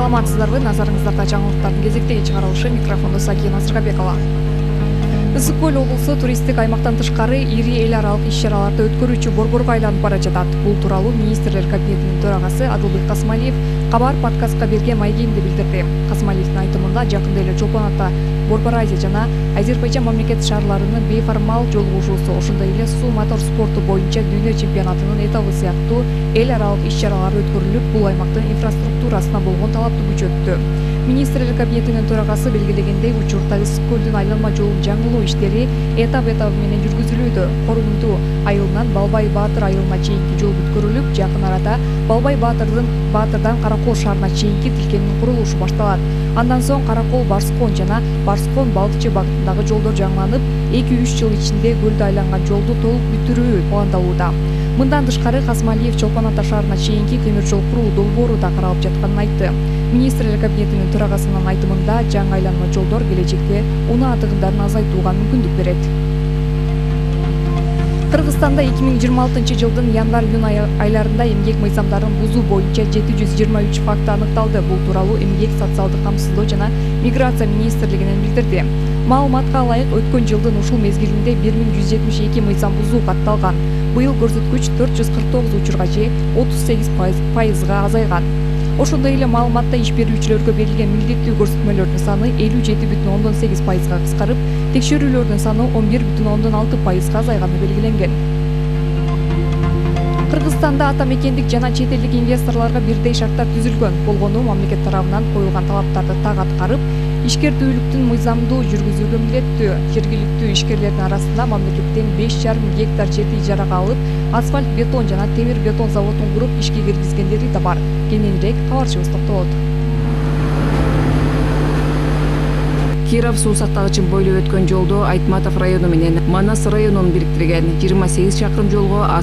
Саламатсыздарбы, назарыңыздарда жаңылыктардын кезектеги чыгарылышы, микрофондо Сакия Назарбекова. Ысык көл облусу туристтик аймактан тышкары ири эл аралык иш-чараларды өткөрүүчү борборго айланып бара жатат. Бул тууралуу министрлер кабинетинин төрагасы Адылбек Касмалиев Кабар подкастка берген маегинде билдирди. Касмалиевдин айтымында жакында эле Чолпон Ата, Борбор Азия жана Азербайжан мамлекет шаарларынын бейформал жолугушуусу, ошондой эле суу мотор спорту боюнча дүйнө чемпионатынын этабы сыяктуу эл аралык иш-чаралар өткөрүлүп, бул аймактын инфраструктурасына болгон талапты күчөттү. Министрлер кабинетинин төрагасы белгилегендей, учурда Ысык көлдүн айланма жолун жаңылоо иштери этап менен жүргүзүлүүдө. Корунду айылынан Балбай Баатыр айылына чейинки жол бүткөрүлүп, жакын арада Балбай Баатырдан Каракол шаарына чейинки тилкенин курулушу башталат. Андан соң Каракол Барскон жана Барскон Балдычы багытындагы жолдор жаңыланып, 2-3 жыл ичинде көлдү айланган жолду толук бүтүрүү пландалууда. Мындан тышкары Касмалиев Чолпон Ата шаарына чейинки темир жол куруу долбоору да каралып жатканын айтты. Министрлер кабинетинин төрагасынын айтымында, жаңы айланма жолдор келечекте унаа атыгындарын азайтууга мүмкүндүк берет. Кыргызстанда 2026 жылдын январь-июнь айларында эмгек мыйзамдарын бузуу боюнча 723 факты аныкталды. Бул тууралуу Эмгек, социалдык камсыздоо жана миграция министрлигинен билдирди. Маалыматка ылайык, өткөн жылдын ушул мезгилинде 1172 мыйзам бузуу катталган. Быйыл көрсөткүч 449 учурга же 38%га азайган. Ошондой эле маалыматта иш берүүчүлөргө берилген милдеттүү көрсөтмөлөрдүн саны 57,8%га кыскарып, текшерүүлөрдүн саны 11,6%га азайганы белгиленген. Кыргызстанда ата мекендик жана чет элдик инвесторлорго бирдей шарттар түзүлгөн. Болгону мамлекет тарабынан коюлган талаптарды так аткарып, ишкердүүлүктүн мыйзамдуу жүргүзүүгө милдеттүү. Жергиликтүү ишкерлердин арасында мамлекеттен 5,5 гектар жерди ижарага алып, асфальт, бетон жана темир бетон заводун куруп ишке киргизгендери да бар. Кененирээк кабарчыбыз токтолот. Киров суу сактагычын бойлоп өткөн жолдо Айтматов району менен Манас районун бириктирген 28 чакырым жолго